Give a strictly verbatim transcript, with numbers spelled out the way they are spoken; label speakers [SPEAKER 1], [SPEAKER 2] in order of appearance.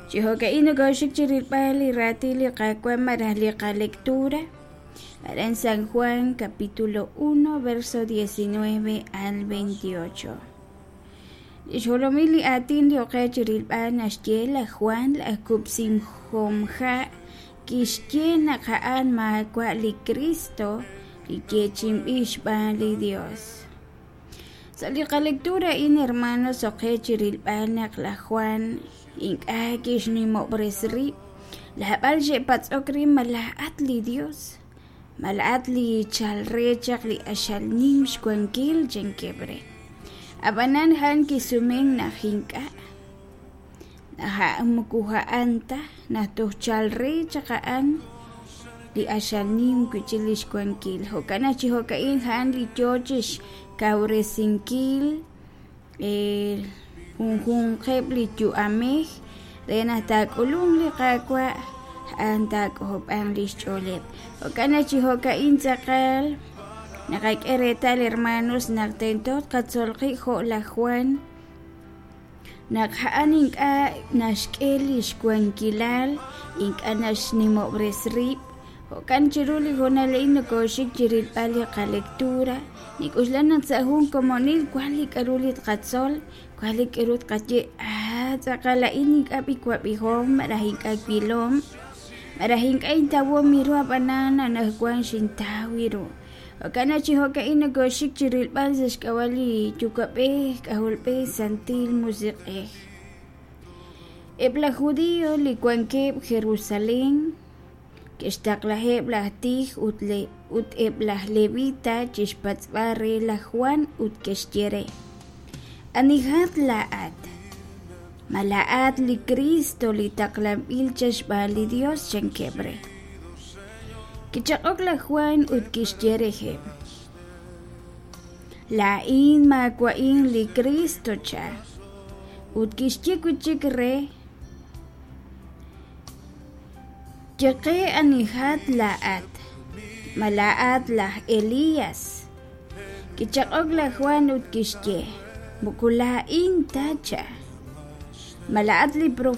[SPEAKER 1] Chi jo'ka'in nokoxik chi rilb'al li raatin li Qaawa' malaj li qalectura aran San Juan capítulo uno verso diecinueve al veintiocho. Lix jolomil li aatin li oqe chi rilb'al naxye laj Juan laj Kub'simhomha' kixye naq a'an maawa' li Cristo li yeechi'inb'il xb'aan li Dios. Sa' li qalectura a'in, hermanos, oqe chi rilb'al naq laj Juan ink'a' kixnimob'res rib', lajb'al xe'patz'ok rib' mala'at li Dios, mala'at li chal re chaq li q'axal nim xwankil chankeb' re. Ab'anan a'an kisumen naq ink'a', naq moko a'an ta, naq toj chal re chaq a'an li q'axal nim wi'chik lix wankil. Jo'kan naq chi jo'ka'in a'an li yoo chixkawresinkil junjunqeb' li yu'amej re naq taak'ulunk li Qaawa' a'an taak'ojob'anq lix ch'ooleb'. Jo'kan naq chi jo'ka'in tz'aqal naqak'e reetal, hermanos, naq tento tqatzol qib' jo' laj Juan, naq a'an ink'a' naxk'e lix wankilal, ink'a' naxnimob'res rib'. Jo'kan chiru li hoonal a'in nokoxik chi rilb'al li qalectura, nik'uxlan naq sa' jun komonil wan li k'a'ru li tqatzol, wan li k'a'ru tqaye, ah, tz'aqal a'in ink'a' b'iwab'ijom, malaj ink'a' wilom, malaj ink'a' intawom iru ab'anan anaqwan xintaw iru. Jo'kan naq chi jo'ka'in nokoxik chi rilb'al sa' xk'ab'a' li Yuwa'b'ej, K'ajolb'ej, Santil Musiq'ej. Eb' laj judío li wankeb' Jerusalén ke'xtaqlaheb' laj tij ut le ut eb' laj levita chixpatz'b'al re laj Juan ut ke'xye re: Anijat laa'at? Ma laa'at li Cristo li taqlanb'il chaq xb'aan li Dios? Chankeb' re. Kichaq'ok laj Juan ut kixye reheb': Laa'in maawa'in li Cristo cha. Ut kixye wi' chik re: Ye qe anijat laa'at? Ma laa'at laj Elías? Kichaq'ok laj Juan ut kixye: Moko laa'in ta cha. Ma laa'at li profeta?